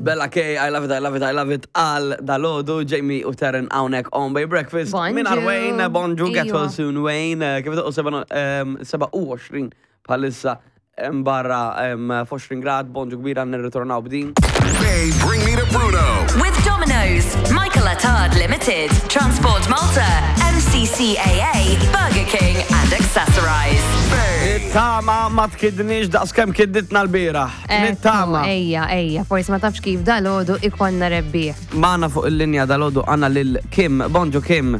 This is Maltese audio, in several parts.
Bella K, I love it, I love it, I love it, għal dalodu, Jamie u Terren hawnhekk on Bay Breakfast. Bonġu. Minar Wayne, bonġu, get well Iwa. soon Wayne. Kif doqqu 27 bħalissa em, barra em, f'20 grad, bonġu kbira nirritornaw b'din. Bay, bring me to Bruno. With Domino's, Michael Attard Limited, Transport Malta, MCCAA, Burger King, and Accessorize. Bay. Nittama ma tkidnix daqskemm kidditna l-bieraħ. Nittama. Ejja, ejja, forsi ma tafx kif dal-ħodu ikonna rebbieħ. Magħna fuq il-linja dalodu għandna lil Kim. Bonġu Kim.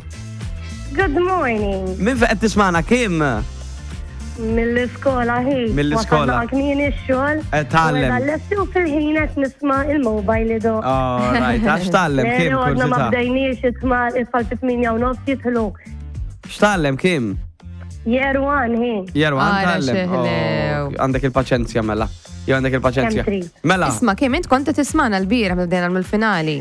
Good morning. Min fejn qed tismana Kim? Mill-iskola hi. Mill-iskola. Wasalna kmieni x-xogħol. Qed tgħallem. U Lesti u fil-ħin qed nisma' il-mobile ido. All right, għax tgħallem Kim Għadna ma kurzita. bdejniex it-tmal it-tfal fit-8 u nofs jidħlu. X'tgħallem Kim? Year one hi. Jerwan Ara tgħallem. xeħlew. Oh, Għandek il-paċenzja mela. Jew għandek il-paċenzja. Kemm trid. Mela. Isma, Kim, int kont qed tismana l-bieraħ meta bdejna mill-finali.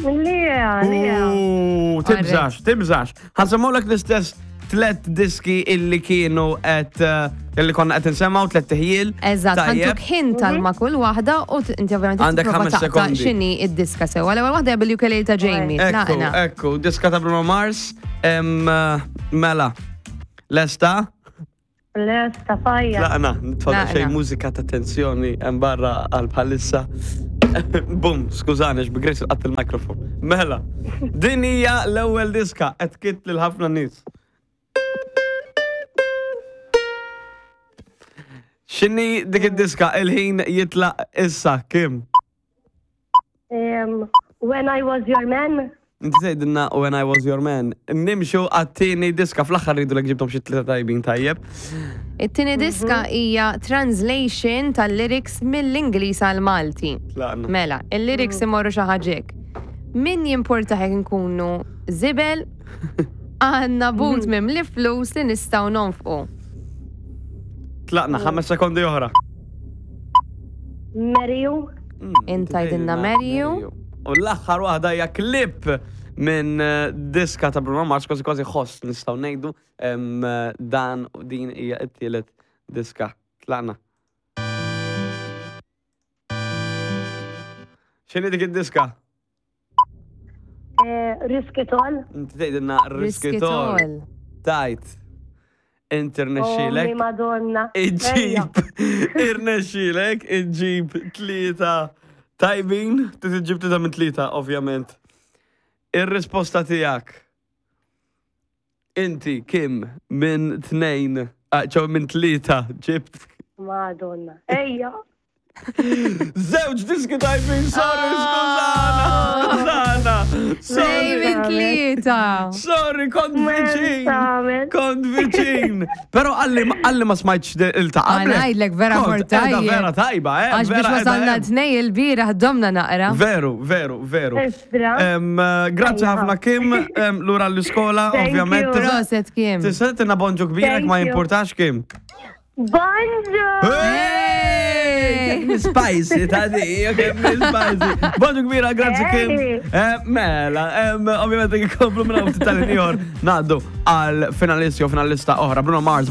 Lija, lija. Ooh, Tibżax, tibżax. Ħansemmulek l-istess tlet diski illi kienu qed eh, illi konna qed insemmaw tlet tiħjil. Eżatt, Tajjeb. ħantuk ħin tal-ma kull waħda u t- inti ovvjament Għandek tipprova ħames taqta' sekondi. x'inhi id-diska sewwa. L-ewwel waħda hija bil-ukulele ta' Jamie. Ekku, Tlaqna. ekku, diska ta' Bruno Mars. Em, eh, mela, lesta? Lesta fajja. Tlaqna, nitfadal Tlaqna. xejn mużika ta' tensjoni hemm barra għal bħalissa. Bum, skużani, x'bigris qatt il-mikrofon. Mela, din hija l-ewwel diska qed kitt lil ħafna nies. X'inhi dik id-diska il-ħin jitlaq issa, Kim? Um, When I was your man. Inti tgħidilna When I Was Your Man. Nimxu għat-tieni diska fl-aħħar rridu lek ġibtom xi tlieta tajbin tajjeb. It-tieni diska hija translation tal-lyrics mill-Ingliż għal Malti. Tlaqna. Mela, il-lyrics imorru xi ħaġa hekk. Min jimporta hekk nkunu żibel għandna but mimli flus li nistgħu nonfqu. Tlaqna ħames sekondi oħra. Marry you. Int tgħidilna marry you. U l-aħħar waħda hija klip minn eh, diska ta' Bruno Mars, kważi kważi ħoss nistgħu ngħidu em, eh, dan u din hija t-tielet diska. Tlaqna. X'inhi dik id-diska? Eh, Risk it all. Inti tgħidilna Risk Risk it It All. all. Tajt. Inti Ommi rnexxielek. Madonna. Ejja. Iġġib, irnexxielek, iġġib tlieta tajbin, trid iġġib tlieta minn tlieta, ovvjament. Ir-risposta tiegħek. Inti, Kim, minn tnejn, ah, ċew minn tlieta, ġibt Madonna. Ejja. Żewġ diski tajbin, sorry, skużana, skużana, Tnejn sorry, minn tlieta. sorry, kont viċin, Tagħmel. kont viċin. Pero għalli għalli ma smajtx il-ta' Għana qablek. ngħidlek vera Kont mort qiegħda tajjeb. Vera tajba, eh. Għax biex vera qiegħda wasalna hemm. tnej il-bieraħ domna naqra. Veru, veru, veru. Isra. Em, eh, Grazzi Ejja. ħafna Kim, em, lura l-iskola, Thank ovvjament. you. Proset Kim. Tista' tina bonġu kbira Thank ma you. jimportax Kim. Bonġu. Hey! Kemm Spicy ta' di, kemm spicy. Bonġu kbira, grazzi Kim. Hey. Eh, Mela, em, ovvjament ikomplu minn hawn ftit tal-ieħor ngħaddu għal finalisti u finalista oħra Bruno Mars.